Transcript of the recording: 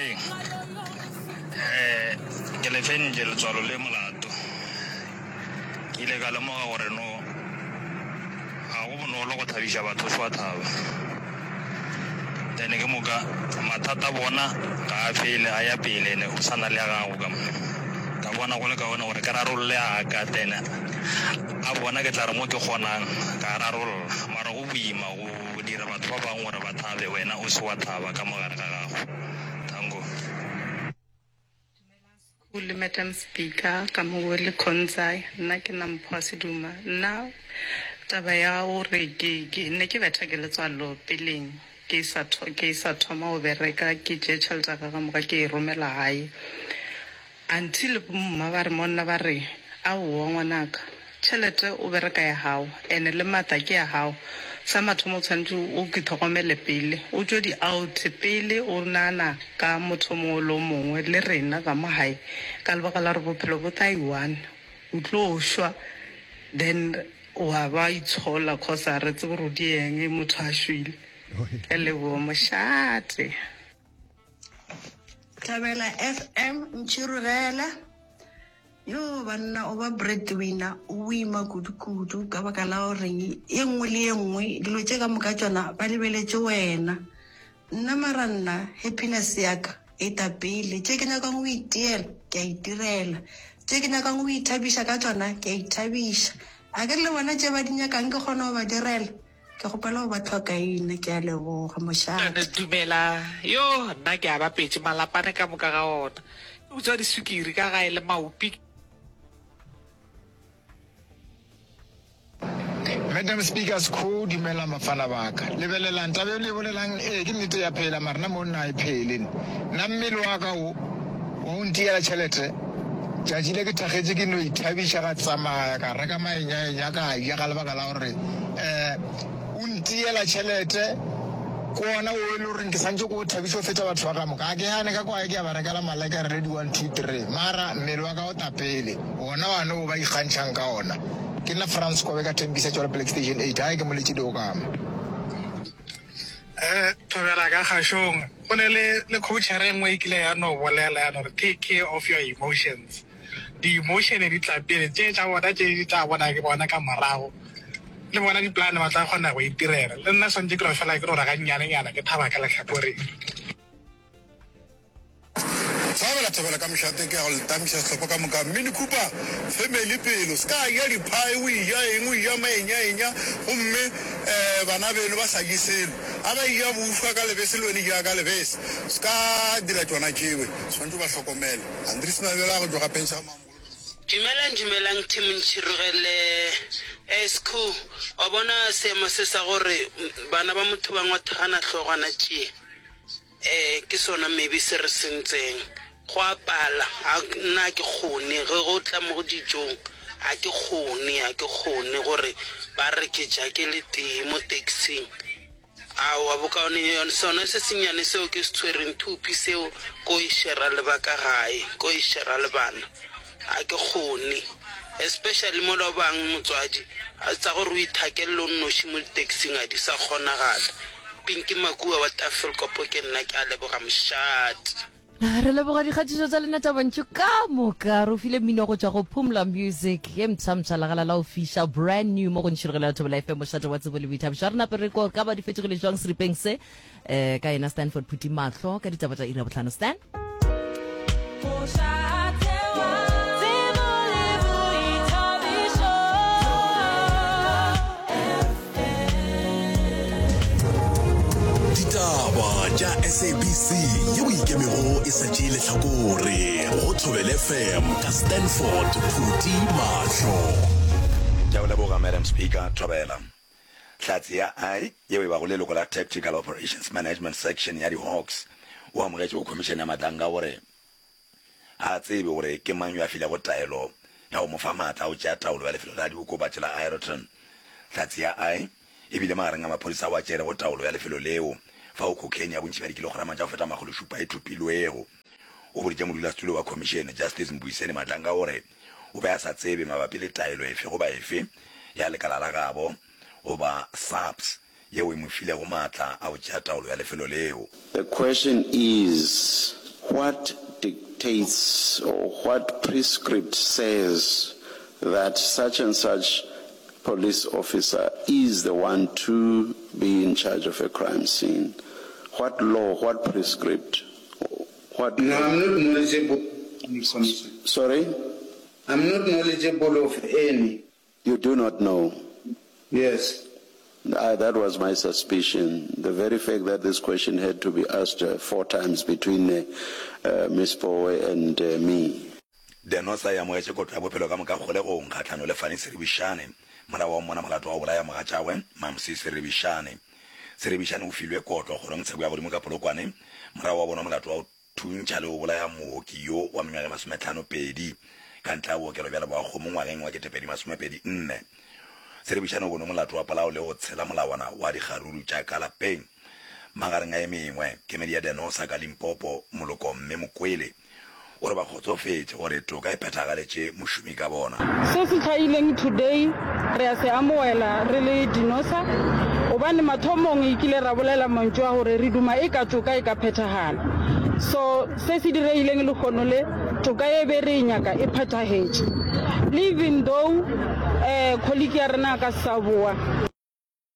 Dumeleng. Um ke le fentše letswalo le molato. Ke ile ka lemoga gore no ga go bonolo go thabiša batho o se wa thaba. Then ke moka mathata a bona ga a fele a ya pele ene o sa na le a gago ka mo. Ka bona go le kaone gore ke rarolle a ka then a bona ke tla re mo ke kgonang ka a rarolla. Mara go boima go dira batho ba bangwe gore ba thabe wena o se wa thaba ka mo gare ga gago. Tango. Dumelang Sekhu le Madam Speaker ka mo le Khonzai nna ke na Mpho Seduma nna taba ya gore ke ke ne ke betha ke letswalo peleng ke sa ke sa thoma go bereka ke tšee tšhelete ya ka ka moka ke e romela gae Until bomma ba re mo nna ba re, Aowa ngwanaka, tšhelete o bereka ya gago, ene le matla ke ya gago. Sa mathomo o tshwanetše o itlhokomele pele, o tšwe di out pele o nagana ka motho o mongwe le o mongwe le rena ka mo gae, ka lebaka la gore bophelo bo tla i-one, o tlo šwa then wa ba itshola cause ga re tsebe gore o di eng motho a šwele. Ke a leboga mošate. Thabela FM ntšhirogela yo banna o ba breadwinner o boima kudu-kudu ka baka la goreng ye nngwe le ye nngwe dilo tše ka moka tšona ba lebeletše wena nna mara nna happiness ya ka e ta pele tše ke nyakang go itiela ke a itirela tše ke nyakang go ithabiša ka tšona ke a ithabiša a ke le bona tše ba di nyakang ke kgona go ba direla Ke kgopela go ba tlhokaina, ke a leboga, mošate. Dumela, yo nna ke a bapetše malapane ka moka ga ona. Ke utswa diswikiri ka gae le maopi. Madam Speaker Sekhu, dumelang bafana ba ka. Lebelelang taba e le e bolelang, ee ke nnete ya phela mara nna mo nna e phele. Nna mmele wa ka wo wa go ntiela tšhelete, tšatši le ke thakgetše ke no ithabiša ka tsamaya ka reka maenyaenya ka ja ka lebaka la gore um o ntiela tšhelete ke ona o e le goreng ke santse ko o thabiša go feta batho ba ka moka. A ke gane ka kwae ke a ba rekela malekere le di-one two three mara mmele wa ka o tapele ona wane o ba ikgantšhang ka ona. Ke nna Frans Kobe ka Tembisa Tšwelopele Station 8 gae ke moletše Diokama. Eh, thobela ka kgašong. Go ne le, le coachere e nngwe e kile ya no bolela ya no re take care of your emotions. Di-emotion di tla pele, tše tša bona tše di tla bona ke bona ka morago. Le bona di-plan ba tla kgona go itirela. Le nna swantše ke no fela ke no re gannyanenyana ke thaba ka lehlakoreng. Thobela thobela ka mošate ke ya go le tamiša sehlopha ka moka Mini Cooper family pelo se ka ja diphae o eja eng o eja maenyaenya gomme um bana beno ba sa je selo a ba eja bušwa ka lebese le wena eja ka lebese se ka dira tšona tšewe swanetše o ba hlokomele Andries Mabjala go tšwa ga Pensa Mamolo. Dumelang dumelang team Ntšhirogele SQ wa bona seemo se sa gore bana ba motho ba ngwathagana hlogwana tšee Ee, ke sona maybe se re sentseng. Go a pala, a nna ga ke kgone, ge go tla mo dijong ga ke kgone, ga ke kgone gore ba re ke ja ke le tee mo taxing. Aowa, bokaone yone sona se sennyane seo ke se tshwereng, thuphi seo, ko e shera le ba ka gae, ko e shera le bana. Ga ke kgone. Especially mola o bang motswadi, tsa gore o ithakelle o nnoši mo di-taxing ga di sa kgonagala. Pinky Makua wa Tafelkop ke nna, ke a leboga mošate. Re leboga dikgatišo tša lena tša bontši ka moka. Re o file mmino go tšwa go Phumla Music ye mpsha-mpsha legala la go fiša brand new mo go ntšhirogelo ya Thobela FM mošate wa tsebo le boithabišo. A re nape re ko ka ba di fetogile jwang seripeng se eh, ka yena Stanford Phuti Mahlo ka ditaba tša iri ya bohlano. Stan. Ditaba tša SABC yeo e ikemego e sa tšee lehlakore go Thobela FM ka Stanford Phuti Mahlo. Ke a o leboga Madam Speaker. Thobela. Hlatse ya I yeo e bago leloko la Tactical Operations Management Section ya di-Hawks o amogetše go Khomišene ya Matlanga gore ga a tsebe gore ke mang yo a filego taelo ya go mo fa maatla a go tšea taolo ya lefelo la diokobatši la Aeroton. Hlatse ya I e bile magareng a maphodisa ao a tšerego taolo ya lefelo leo fao cocaine ya bontši bja dikilograma tša go feta makgološupa e thopilwego. O boditše modulasetulo wa khomišene, Justice Mbuyiseni Madlanga gore o be a sa tsebe mabapi le taelo efe goba efe ya lekala la gabo goba SAPS yeo e mo filego maatla a go tšea taolo ya lefelo leo. The question is. What dictates or what prescript says that such and such police officer is the one to be in charge of a crime scene? What law, what prescript, what No, I'm not knowledgeable. Sorry? I'm not knowledgeable of any. You do not know? Yes. Uh, that was my suspicion. The very fact that this question had to be asked uh, four times between uh, uh, Ms. Powe and uh, me. Denosa e amogetše kotlo ya bophelo ka moka kgolegong kgahlano le Fanny Seribišane morago wa mmona molato wa go bolaya mogatšagwe Mamsi Seribišane. Seribišane o filwe kotlo kgorongtsheko ya godimo ka Polokwane morago wa bonwa molato wa go thuntšha le go bolaya mooki yo wa mengwaga e masometlhano-pedi ka ntle ga bookelo bja Leboakgomo ngwageng wa 2024. Seribišane o bonwe molato wa polao le go tshela molawana wa dikgaruru tša ka lapeng magareng a e mengwe. Kemedi ya Denosa ka Limpopo, Moloko Mme Mokwele, O re ba kgotsofetše gore toka e phethagaletše mošomi ka bona. Se se hlahileng today re a se amoela re le Dinosa gobane mathomong e kile ra bolela mantšu a gore re duma eka toka e ka phethagala. So se se diregileng lehono le, toka ye be re e nyaka e phethagetše. Le even though colleague ya rena a ka se sa boa.